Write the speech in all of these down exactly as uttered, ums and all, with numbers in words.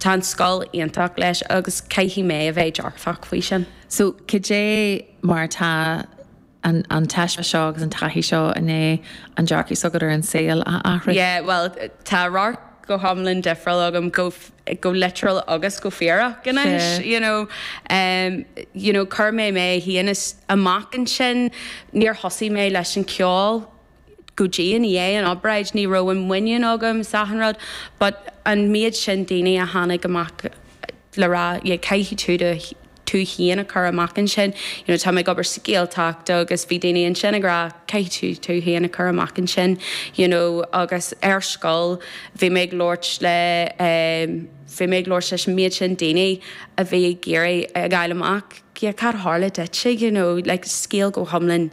Tá an scoil iontach leis agus caithfidh mé a bheith dearfach faoi sin. So cad é mar tá an, an teist seo agus an taithí seo i ndiaidh an dearcadh s'agat ar an saol a athrú? Yeah, well, tá radharc go hiomlán difriúil agam go go literal agus go fíorach anois, you know, um, you know, chuir mé mé féin amach ansin, níor thosaigh mé leis an ceol go dtí i ndiaidh an obráid, ní raibh an muinín agam sa rud, but an méid sin daoine a tháinig amach le rá yeah, caithfidh tú do tú féin a chur amach ansin. You know, tá mé ag obair sa Ghaeltacht agus bhí daoine ansin ag rá caithfidh tú tú féin a chur amach ansin, you know, agus ar scoil bhí mé ag labhairt le um, bhí mé ag labhairt leis an méid sin daoine a bhí ag iarraidh a fháil amach yeah, cad tharla duitse, you know, like scéal go hiomlán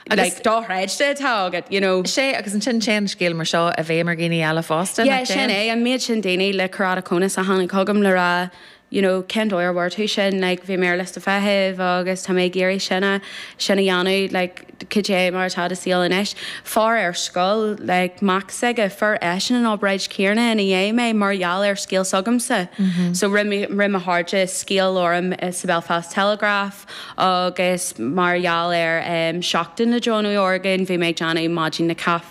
like dochreidte atá agat, you know. Sé agus ansin téann scéal mar seo i bhfeidhm ar dhaoine eile fosta. Yeah, sin é an méid sin daoine le keratoconus a tháinig chugam le rá you know, cén dóigh ar bhfuair tú sin, like, bhí mé ar liosta feithimh agus tá mé ag iarraidh sin a sin a dhéanamh, like, cad é mar atá do shaol anois. Fear ar scoil, like, mac s'aige, fuair eisean an obráid chéanna ina dhiaidh mé mar gheall ar scéal s'agamsa. Mm -hmm. So rinne mo chairde scéal orm sa Belfast Telegraph agus mar gheall ar um, seachtain na deonú orgán, bhí mé ag déanamh maidin na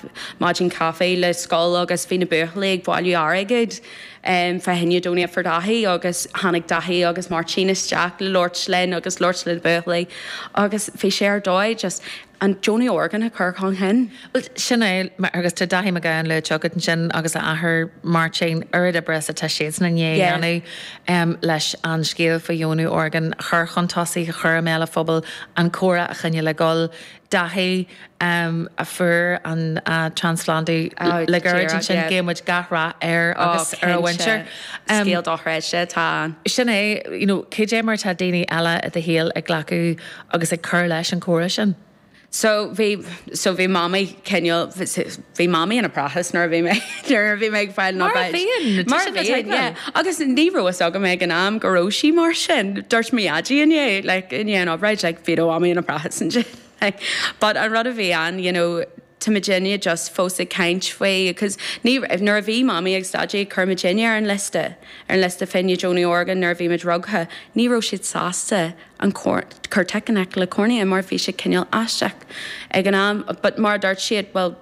maidin caife le scoil agus bhí na buachaillí ag bailiú airgid. Um, fá choinne donate for Daithí agus tháinig Daithí agus Máirtín isteach le labhairt linn agus labhairt le buachaillí agus bhí sé ar dóigh just an deonú orgán a chur chun cinn. Sin é agus tá Daithí Mac Gabhann le teacht ansin agus a athair Máirtín oiread oibre atá siadsan i ndiaidh um, leis an scéal faoi dheonú orgán chur chun tosaigh a chur i mbéal an phobail an comhrá a choinneáil ag dul Daithí um, a fuair an uh, trasphlandú oh, le gairid ansin guímid gach rath air agus ar a mhuintir. Scéal dochreidte tá. Sin é you know, cad é mar tá daoine eile i do shaol ag glacadh agus ag cur leis an chomhrá sin. So bhí so bhí mamaí cineál bhí mamaí ina prathas nuair a bhí mé nuair a bhí mé ag fáil Mar a bhíonn, Mar a bhíonn, yeah. Agus ní raibh fhios agam ag an am go raibh sí mar sin. Dúirt mo dhaidí inné like i ndiaidh an obráid like bhí do mhamaí ina prathas ansin. Like, but an rud a bhí an, you know, tá muidinne just fós ag caint faoi, because ní nuair a bhí mamaí agus daidí chuir muidinne ar an liosta ar an liosta fá choinne deonú orgán nuair a bhí muid rugtha, ní raibh siad sásta an cur tic in aice le cornea mar bhí sé cineál aisteach ag an am, but mar dúirt siad well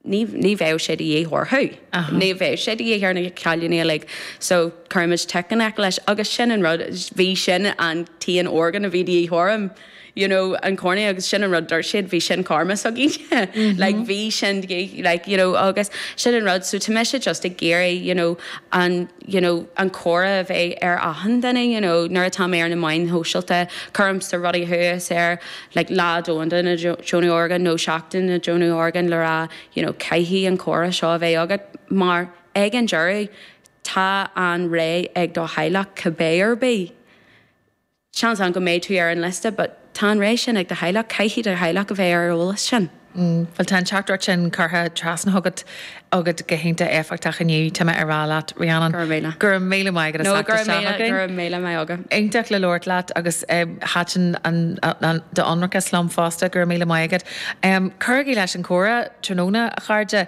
ní ní bheadh sé de dhíth orthu. Ní bheadh sé de dhíth ar na cailíní like, so cuirimid tic in aice leis agus sin an rud bhí sin an t-aon orgán a bhí de dhíth orm. You know, an cornea agus sin an rud dúirt siad bhí sin karma s'againne like bhí sin like you know agus sin an rud so tá mise just ag iarraidh you know an you know an comhrá a bheith ar achan duine you know nuair atá mé ar na meáin shóisialta cuirimse rudaí thuas ar like lá domhanda na deonú orgán nó seachtain na deonú orgán le rá you know caithfidh an comhrá seo a bheith agat mar ag an deireadh tá an ré ag do theaghlach cibé ar bith. Seans an go mbeidh tú ar an liosta, but tá an ré sin ag do theaghlach caithfidh do theaghlach a bheith ar eolas sin. Mm, Well tá an teachtaireacht sin curtha trasna agat agat go hiontach éifeachtach inniu tá mé ag rá leat Rhiannon. Go raibh míle. Go raibh míle maith agat No as go raibh míle againn. go raibh míle maith agat. Iontach le labhairt leat agus thaitin an d'ionracas liom fosta go raibh míle maith agat. Um, Cuirigí leis an chomhrá tráthnóna a chairde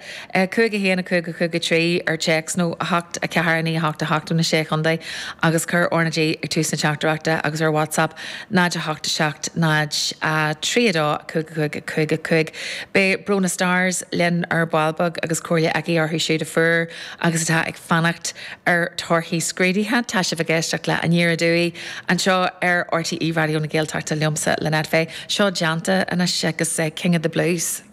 cúig a haon a cúig a cúig a trí ar téacs nó a hocht a ceathair naoi a hocht a hocht na sé chontae agus cuir R na G ag tús na teachtaireachta agus ar WhatsApp náid a hocht a seacht náid trí a dó cúig cúig cúig cúig. Beidh Brona Stars linn ar ball beag agus comhairle aici orthu siúd a fuair agus atá ag fanacht ar torthaí scrúdaithe tá sibh ag éisteacht le Aniar Aduaidh anseo ar RTÉ Raidió na Gaeltachta liomsa Lynette Fay. Seo déanta anois agus King of the Blues.